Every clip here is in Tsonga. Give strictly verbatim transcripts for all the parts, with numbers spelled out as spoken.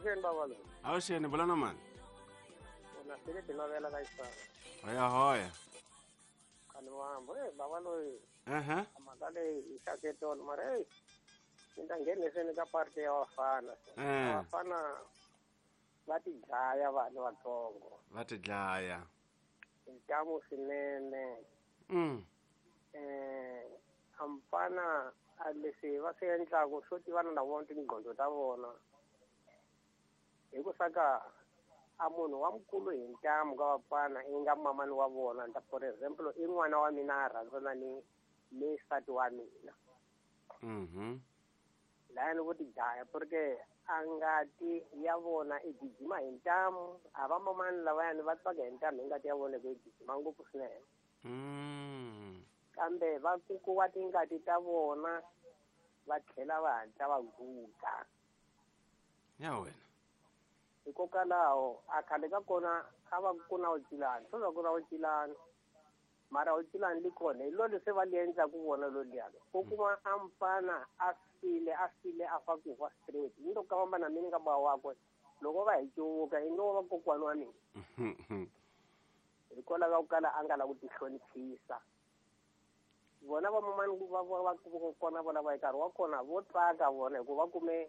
Avuxeni baba loyi. Avuxeni vulana mani? Na sele tinovela ka xisana. Hoya hoya. Khani mambo, eh baba loyi. Aha. Mhaka leyi yi xaketolo mara hey ni ta ngheniseni ka parti ya vafana. Eh. Vafana va ti dlaya vanhu vatsongo. Va ti dlaya. Ntamu swinene. Mm. Eh amfana a leswi va swi endlaku swo tivana na vona tinqondo ta vona. Hi ku saka a munhu wa mukulu hi ntamu ka vafana i nga mamani wa vona nta for example i n'wana wa mina a rhandzana ni ni nsati wa mina. Mhm. Laya ni vo ti dlaya porque a ngati ya vona i gijima hi ntamu a va mamani lavayani va tsaka hi ntamu hi ngati ya vona ku yi gijima ngopfu swinene. Mm. Kambe va kukuwa tingati ta vona va tlhela va hatla va guga. Ya wena. Hikokwalaho a khale ka kona a va ku na wucilani swo va ku na wucilani mara wucilani li kona hi lo leswi va li endlaku vona lo liyani u kuma a mfana a file a file a fa ku fa straight ni loko ka famba na mina ka ba wakwe loko va hi cuvuka i ngo va kokwani wa mina hikwalaho ka ku kala a nga la ku tihloniphisa vona va mamani va va va kona vona va hi nkarhi wa kona vo tsaka vona hikuva va kume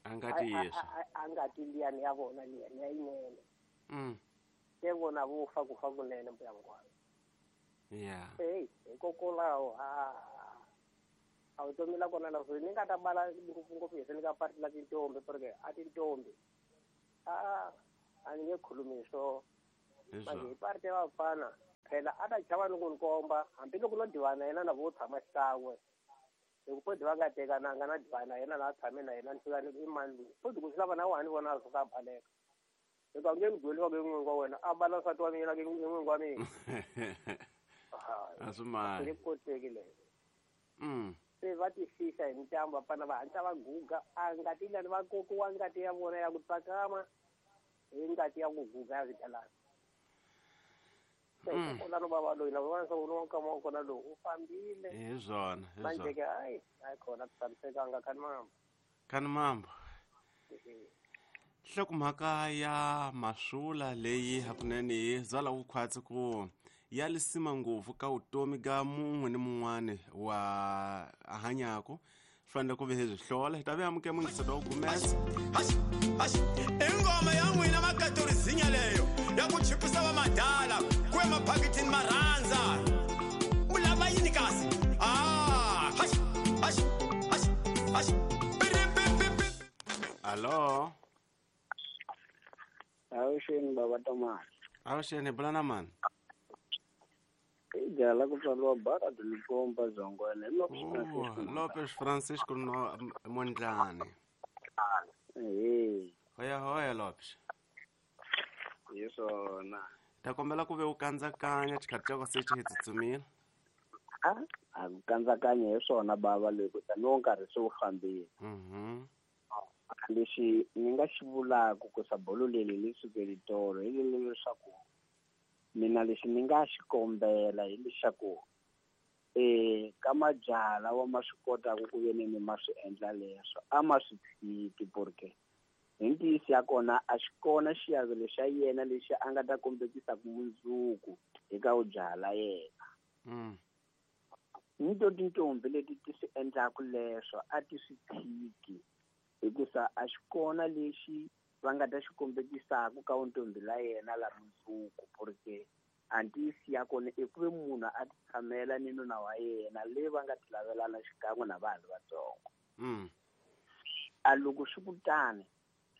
a nga tiyisa a nga ti liyani ya vona liyani ya yinene. Mm. Se vona vo fa ku fa kunene mbuya ngwana. Yeah. Hey, hikokwalaho a a vutomi la kona la ni nga ta bala ngopfungopfu hi ni ka parti la tintombi porque a tintombi a a ni nge khulumi swo manje hi parti ya vafana phela a ta chava ni ku ni komba hambiloko no divana yena na vo tshama xikan'we hi ku podi va nga tekananga na divana na yena na tshame na yena ni fika ni i mani loyi podi ku swi lava na wa ni vona a suka a baleka hikuva nge ni gweli va ke n'wingi wa wena a bala nsati wa mina ke n'wingi wa mina. A swi mali. Swi nge koteki leyo. Mm. Se va ti fihla hi ntambu vafana va hatla va guga a ngati lani va kokiwa ngati ya vona ya ku tsakama hi ngati ya ku guga ya swigalana. Mm. Kona baba loyi na vona swa ku nkama wa kona lowu u fambile. Hi swona, hi Manje swona. ke hayi hayi khona ku tshamisekanga khani mambo. Khani mambo. Nhlokomhaka ya masula leyi hakunene yi byala vukhwatsi ku ya lisima ngopfu ka vutomi ka mun'we ni mun'wani wa hanyako swi fanele ku ve hi byi hlola hi ta ve amukela muyingiselo wa gumesa. I ngoma ya n'wina makatorizinya leyo ya ku chipisa va madala ku ya maphakitini ma rhandza u lava yini kasi ah hash hash hash hash. Alo. Avuxeni baba Tomasi. Avuxeni bula na mani? I jala ku tswariwa bara Limpopo Zongwena hi Lopes Francisco. Lopes Francisco no Mondlane. Eh. Hoya hoya Lopes. Hi swona. Ta kombela ku ve u kandzakanya xikhathi xa ko se xi hi tsutsumile. A a ku kandzakanya hi swona baba loyi ku tani wo nkarhi se wu fambile. Mhm. Lexi ni nga xi vulaka ku sa bolo leri li sukeli tolo hi leswaku mina lexi ni nga xi kombela hi leswaku eh ka majaha lawa ma swi kotaka ku ve ni ma swi endla leswo a ma swi tshiki porque hi ntiyiso ya kona a xi kona xiavelo xa yena lexi a nga ta kombekisaka mundzuku eka vujaha la yena. Mm. Ni to tintombi leti ti swi endlaka leswo a ti swi tshiki hikusa a xi kona lexi va nga ta xi kombekisaka ka ntombi la yena la mundzuku porque a ntiyiso ya kona i ku ve munhu a ti tshamela ni nuna wa yena leyi va nga ti lavelana xikan'we na vanhu vatsongo. Mm. A loko swi ku tani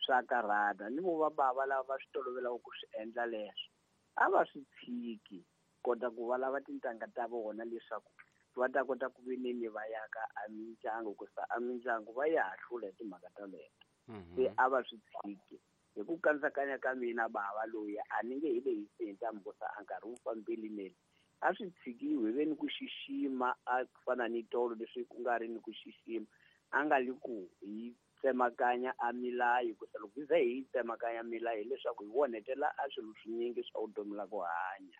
swa karhata ni vo va bava lava va swi tolovelaka ku swi endla leswo a va swi tshiki kota ku va lava tintangha ta vona leswaku va ta kota ku vineni va yaka a mindyangu ku sa a mindyangu va ya hahlula hi timhaka ta leto. Se a va swi tshiki hi ku kandzakanya ka mina bava loyi a ni nge hi lehisi hi ntambu ku sa a nkarhi wu fambile nele a swi tshikiwi hi ve ni ku xixima a fana ni tolo leswi ku nga ri ni ku xixima a nga li ku hi tsemakanya a milayo ku sa loko hi ze hi tsemakanya milayo hileswaku hi onhetela a swilo swinyingi swa vutomi la ku hanya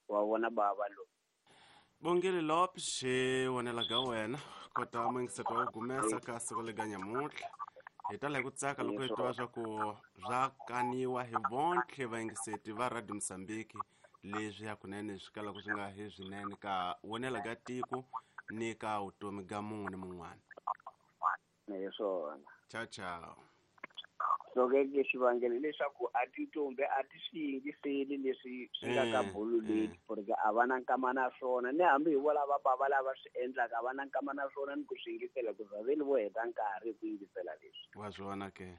wa vona bava loyi. Bongile Lopes, hi vonela ka wena kota muyingiselo wa gumesa ka siku lega nyamuntlha. Hi tala hi ku tsaka loko hi twa swa ku swa kaniwa hi vontlhe vayingiseti va Radio Mozambique leswi hakunene swi kalaka swi nga hi swinene ka wonela ka tiko ni ka vutomi ga mun'we ni mun'wana. Hi swona. Ciao ciao. So ke ke xivangelo leswaku a tintombi a ti swi yingiseli leswi swi nga ka bulu leti porque a va na nkama na swona ni hambi hi vo lava bava lava swi endlaka a va na nkama na swona ni ku swi yingisela ku za vele vo heta nkarhi ku yingisela leswi. Wa swona ke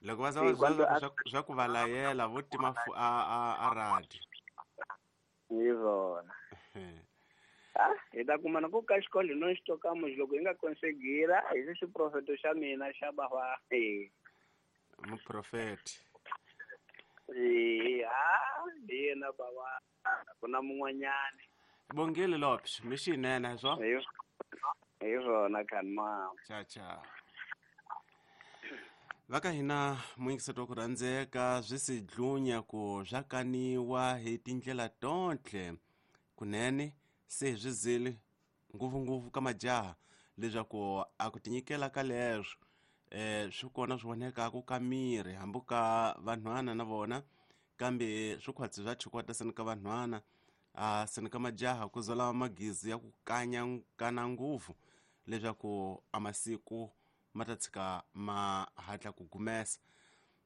loko va za va byela swa ku va layela vo tima a a a radio. Hi swona. Ah, hi ta kuma na ku ka xikolo no xitoka muji loko hi nga konsegira hi xi xiprofeto xa mina xa bava eh muprofeti. Eh ha hi yena bava ku na mun'wanyana. Bongile Lopes mixinene swo. Hi hi swona khanma. Ciao ciao. Va ka hina muyingiseti wa ku rhandzeka swi si dlunya ku swa kaniwa hi tindlela tontlhe kunene se swi zile ngopfungopfu ka majaha leswaku a ku tinyikela ka leswo eh swi kona swi vonekaka ka miri hambi ka vanhwana na vona kambe swi khwatsi swa chikwata seni ka vanhwana a seni ka majaha ku zola magizi ya ku kanya kana nguvu leswaku a masiku ma ta tshika ma hatla ku gumesa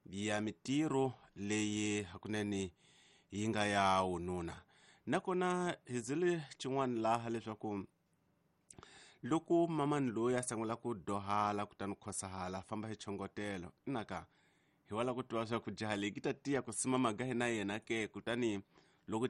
ya mitirho leyi hakunene yi nga ya wununa. Nakona hi zile xin'wana laha leswaku loko mamani loyi a sungula ku dohala kutani khosahala a famba hi chongotelo inaka hi wala ku twa swa ku jaha leyi ki ta tiya ku sima maga hi na yena ke kutani